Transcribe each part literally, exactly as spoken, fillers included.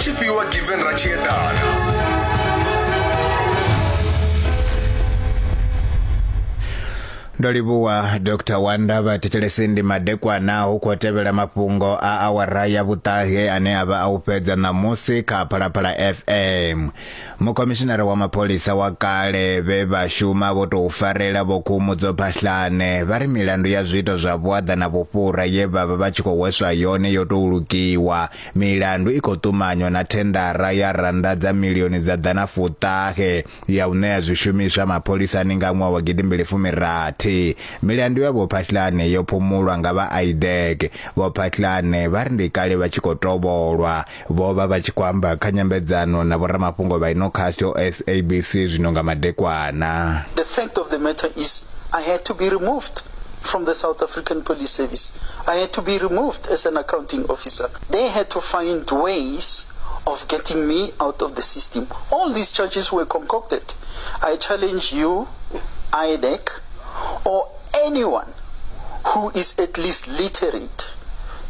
Tshifhiwa Given Ratshiedana. Ndo livhuwa Doctor Wanda vha thetshelesi ndi madekwana hu khou tevhela mafhungo a awara ya vhuṱahe ane a vha a u fhedza ṋamusi kha Phalaphala F M. Mukhomishinara wa mapholisa wa kale vhe vha shuma vho tou farela Vho Khumudzo Phahlane vha ri milandu ya zwiito zwa vhuaḓa na vhufhura ye vha vha vha tshi khou hweswa yone yo tou lukiwa. Milandu i khou ṱumanywa na thendara ya randa dza milioni dza ḓana fuṱahe ya u ṋea zwishumiswa mapholisani nga ṅwaha wa gidimbili fumi rathi. Milandu ya Vho Phahlane yo phumulwa nga vha I D E C. Vho Phahlane vha ri ndi kale vha tshi khou tovholwa. Vho vha vha tshi khou amba kha nyambedzano na vhoramafhungo vha ino khasho S A B C zwino nga madekwana. The fact of the matter is I had to be removed from the South African Police Service. I had to be removed as an accounting officer. They had to find ways of getting me out of the system. All these charges were concocted. I challenge you, I D E C, or anyone who is at least literate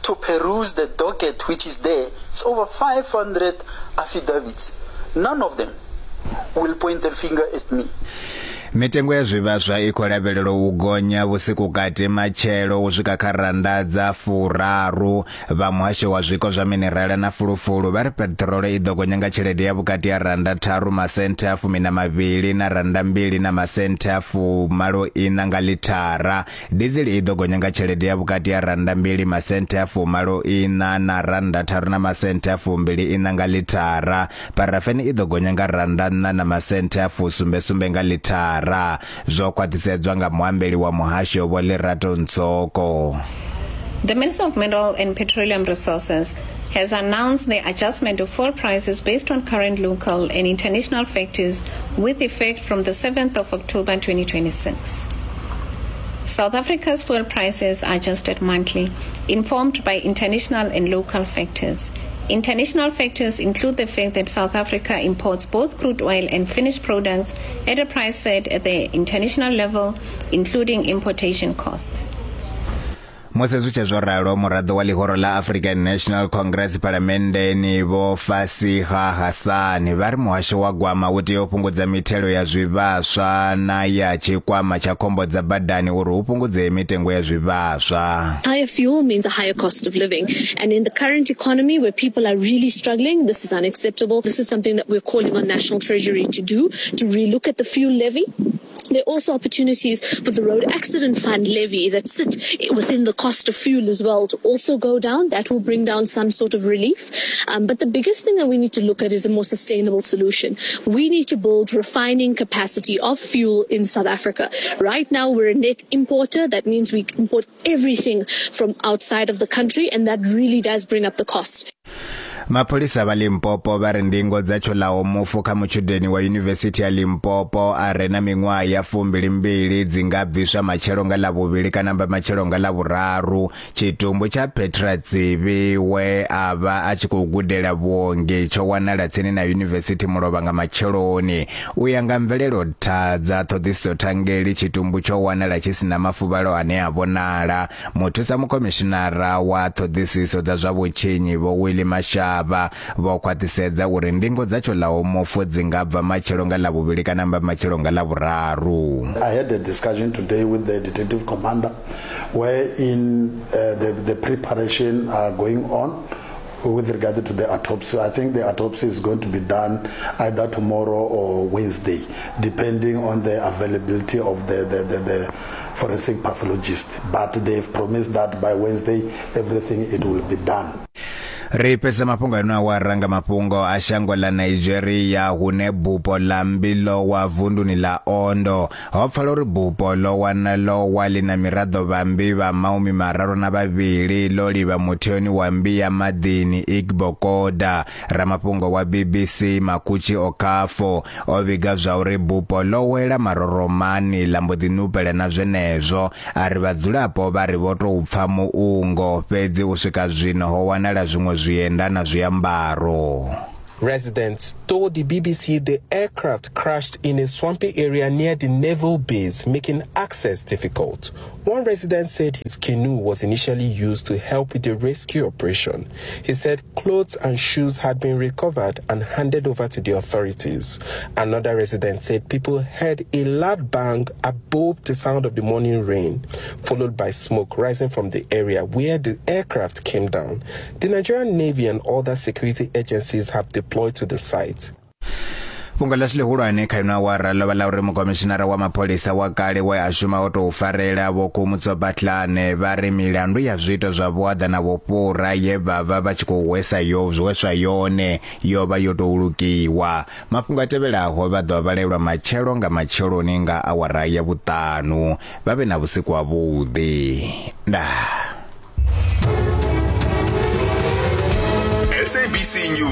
to peruse the docket which is there. It's over five hundred affidavits. None of them will point a finger at me. Mitengo ya zwivhaswa i khou lavhelelwa u gonya vhusiku kati matshelo u swika kha randa dza furaru. Vha muhasho wa zwiko zwa minerala na fulufulu vha ri peṱirolo i ḓo gonya nga tshelede ya vhukati ya randa tharu masenthe a fumi na mavhili na randa mbili na masenthe a fumalo ina nga lithara. Dizeli i ḓo gonya nga tshelede ya vhukati ya randa mbili masenthe a fumalo ina na randa tharu na masenthe a fumbili ina nga lithara. Parafeni i ḓo gonya nga randa nṋa na masenthe a fusumbe sumbe nga lithara. Zwo khwaṱhisedzwa nga muambeli wa muhasho Vho Lerato Ntsoko. The Minister of Mineral and Petroleum Resources has announced the adjustment of fuel prices based on current local and international factors with effect from the seventh of October twenty twenty-six. South Africa's fuel prices are adjusted monthly, informed by international and local factors. International factors include the fact that South Africa imports both crude oil and finished products at a price set at the international level, including importation costs. Musi zwi tshe zwo ralo, muraḓo wa ḽihoro ḽa African National Congress Phalamenndeni Vho Fasiha Hassan vha ri muhasho wa gwama u tea u fhungudza mithelo ya zwivhaswa na ya tshikwama tsha khombo dza badani uri hu fhungudzee mitengo ya zwivhaswa. Higher fuel means a higher cost of living, and in the current economy where people are really struggling, this is unacceptable. This is something that we're calling on National Treasury to do, to relook at the fuel levy. There are also opportunities with the Road Accident Fund levy that sit within the cost of fuel as well to also go down. That will bring down some sort of relief. Um, but the biggest thing that we need to look at is a more sustainable solution. We need to build refining capacity of fuel in South Africa. Right now, we're a net importer. That means we import everything from outside of the country, and that really does bring up the cost. Mapholisa vha Limpopo vha ri ndingo dza tsholaho mufu kha mutshudeni wa Yunivesithi ya Limpopo a re na miṅwaha ya fumbili mbili dzi nga bviswa matshelo nga ḽavhuvhili kana mba matshelo nga ḽavhuraru. Tshitumbu tsha Petra Tsivi we a vha a tshi khou gudela vhuongi tsho wanala tsini na yunivesithi mulovha nga matsheloni. U ya nga mvelelo tha dza ṱhoḓisiso thangeli, tshitumbu tsho wanala tshi sina mafuvhalo ane a vhonala. Muthusa mukhomishinara wa ṱhoḓisiso dza zwa vhutshinyi Vho Willie Masha vho khwaṱhisedza uri ndingo dza tsholaho mufu dzi nga bva matshelo nga ḽavhuvhili kana mba matshelo nga ḽavhuraru. I had a discussion today with the detective commander wherein uh, the, the preparation are going on with regard to the autopsy. I think the autopsy is going to be done either tomorrow or Wednesday, depending on the availability of the, the, the, the forensic pathologist. But they've promised that by Wednesday, everything it will be done. Ri fhedza mafhungo ano awara nga mafhungo a shango ḽa Nigeria hune bupo ḽa mmbi ḽo wa vunduni ḽa Ondo. Ho pfala uri bupo ḽo wana ḽo wa ḽi na miraḓo vha mmbi vha mahumi mararu na vhavhili ḽo livha mutheoni wa mmbi ya maḓini Igbokoda. Ramafhungo wa B B C Makuchi Okafo o vhiga zwa uri bupo ḽo wela maroromani ḽa mbo ḓi nupela na zwenezwo. A ri vhadzulapo vha ri vho tou pfa muungo, fhedzi u swika zwino ho wanala zwiṅwe zwienda na zwiambaro. Residents told the B B C the aircraft crashed in a swampy area near the naval base, making access difficult. One resident said his canoe was initially used to help with the rescue operation. He said clothes and shoes had been recovered and handed over to the authorities. Another resident said people heard a loud bang above the sound of the morning rain, followed by smoke rising from the area where the aircraft came down. The Nigerian Navy and other security agencies have deployed to the site. Fhungo ḽashu ḽihulwane kha ino awara ḽo vha ḽa uri mukomishinara wa mapholisa wa kale we a shuma o tou farela Vho Khomotso Phahlane vha ri milandu ya zwiito zwa vhuaḓa na vhufhura ye vha vha vha tshi khou hwesa yo hweswa yone yo vha yo tou lukiwa. Mafhungo a tevhelaho vha ḓo vhalelwa matshelo nga matsheloni nga awara ya vhuṱanu. Vha vhe na vhusiku havhuḓi. Ndaa. S A B C News.